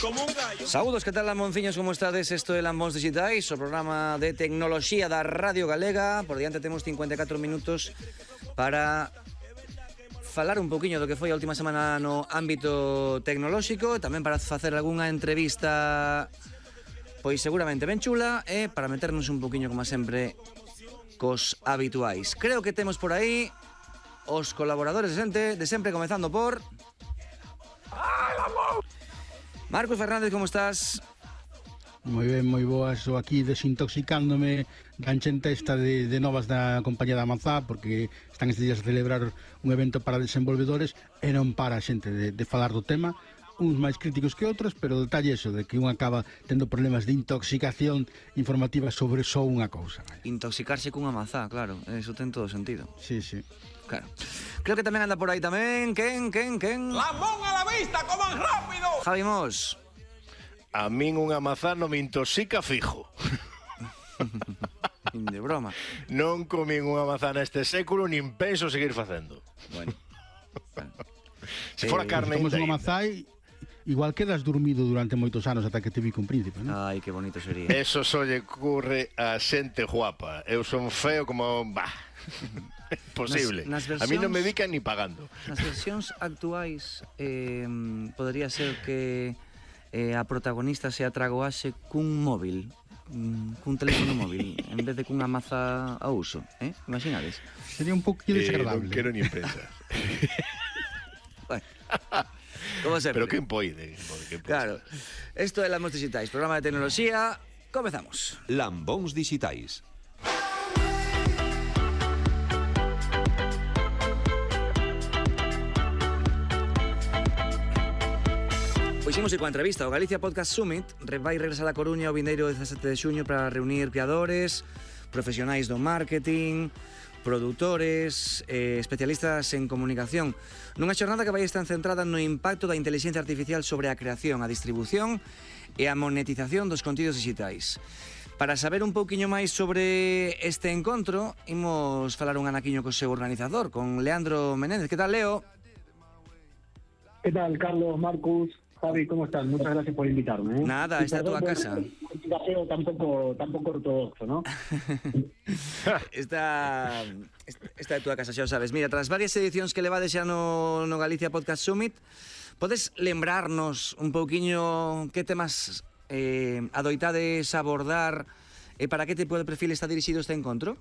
como un gallo. Saúdos, que tal, Lambonciños, como estades? Isto é Lambóns Digitais, o programa de tecnoloxía da Radio Galega. Por diante temos 54 minutos para falar un poquinho do que foi a última semana no ámbito tecnolóxico, tamén para facer algunha entrevista pois seguramente ben chula, e para meternos un poquinho, como sempre, cos habituais. Creo que temos por aí os colaboradores de sempre, comezando por Marcos Fernández, como estás? Moi ben, moi boas. Estou aquí desintoxicándome da enchente esta de novas da compañía da Mazá, porque están estes días a celebrar un evento para desenvolvedores e non para a xente de falar do tema, uns máis críticos que outros, pero o detalle é eso, de que un acaba tendo problemas de intoxicación informativa sobre só unha cousa. Intoxicarse cunha mazá, claro, eso ten todo sentido. Sí, sí. Claro. Creo que tamén anda por aí tamén. Quen? Lambón a la vista, coman rápido. Javi Mos. A min unha mazá non me intoxica fijo. De broma. Non comín unha mazá neste século, nin penso seguir facendo. Bueno. Se fora carne Tomas ainda. unha mazá e igual quedas dormido durante moitos anos ata que te vi con príncipe, non? Ai, que bonito sería. Eso só lle ocurre a xente guapa. Eu son feo como... Bah. Imposible. Nas A mí non me versións- dican ni pagando. Nas versións actuais podría ser que a protagonista se atragoase cun móvil, cun teléfono móvil, en vez de cunha maza a uso, imaginades? Sería un pouquinho desagradable. Non quero nin pensar. Bueno, como sempre. Pero quen poide? Claro, isto é Lambóns Digitais, programa de tecnoloxía. Comezamos. Lambóns Digitais. Pois imos coa entrevista. O Galicia Podcast Summit vai regresar a Coruña o vindeiro 17 de xuño para reunir creadores, profesionais do marketing, produtores, especialistas en comunicación, nunha xornada que vai estar centrada no impacto da inteligencia artificial sobre a creación, a distribución e a monetización dos contidos digitais. Para saber un pouquiño máis sobre este encontro, imos falar un anaquiño co seu organizador, con Leandro Menéndez. Que tal, Leo? ¿Qué tal, Carlos, Marcus, Javi? ¿Cómo están? Muchas gracias por invitarme. Nada, Y esta é a túa perdón por casa. el gaseo tampoco ortodoxo, ¿no? Esta é a túa casa, xa o sabes. Mira, tras varias edicións que levades xa no Galicia Podcast Summit, podes lembrarnos un pouquiño que temas adoitades abordar e para que tipo de perfil está dirixido este encontro?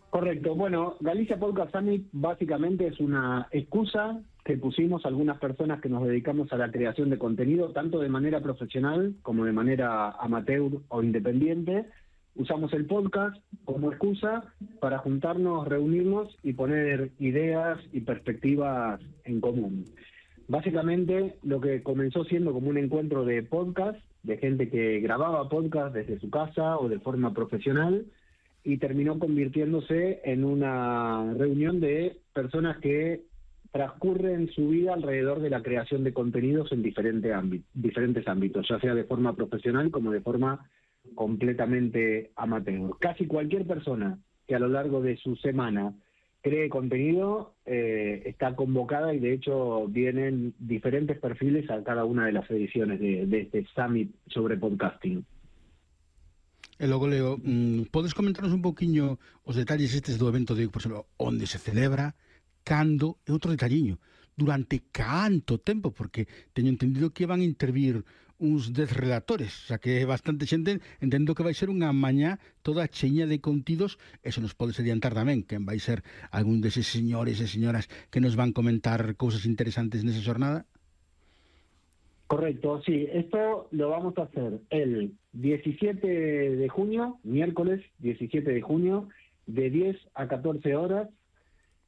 Correcto. Bueno, Galicia Podcast Summit básicamente es una excusa que pusimos algunas personas que nos dedicamos a la creación de contenido, tanto de manera profesional como de manera amateur o independiente. Usamos el podcast como excusa para juntarnos, reunirnos y poner ideas y perspectivas en común. Básicamente, lo que comenzó siendo como un encuentro de podcast, de gente que grababa podcast desde su casa o de forma profesional, y terminó convirtiéndose en una reunión de personas que transcurren su vida alrededor de la creación de contenidos en diferentes ámbitos, ya sea de forma profesional como de forma completamente amateur. Casi cualquier persona que a lo largo de su semana cree contenido está convocada, y de hecho vienen diferentes perfiles a cada una de las ediciones de este Summit sobre podcasting. E logo, Leo, podes comentarnos un pouquiño os detalles estes do evento de, por exemplo, onde se celebra, cando, e outro detalliño, durante canto tempo, porque teño entendido que van a intervir uns 10 relatores, o sea que é bastante xente, entendo que vai ser unha mañá toda cheña de contidos, e se nos podes adiantar tamén quen vai ser algún deses señores e señoras que nos van comentar cousas interesantes nesa xornada. Correcto, sí. Esto lo vamos a hacer el 17 de junio, miércoles 17 de junio, de 10 a 14 horas,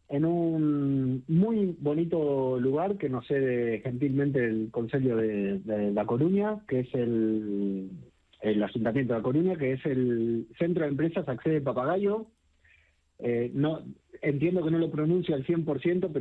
en un muy bonito lugar que nos cede gentilmente el Concello de La Coruña, que es el Ayuntamiento de La Coruña, que es el Centro de Empresas Accede Papagayo. No, entiendo que no lo pronuncio al 100%, pero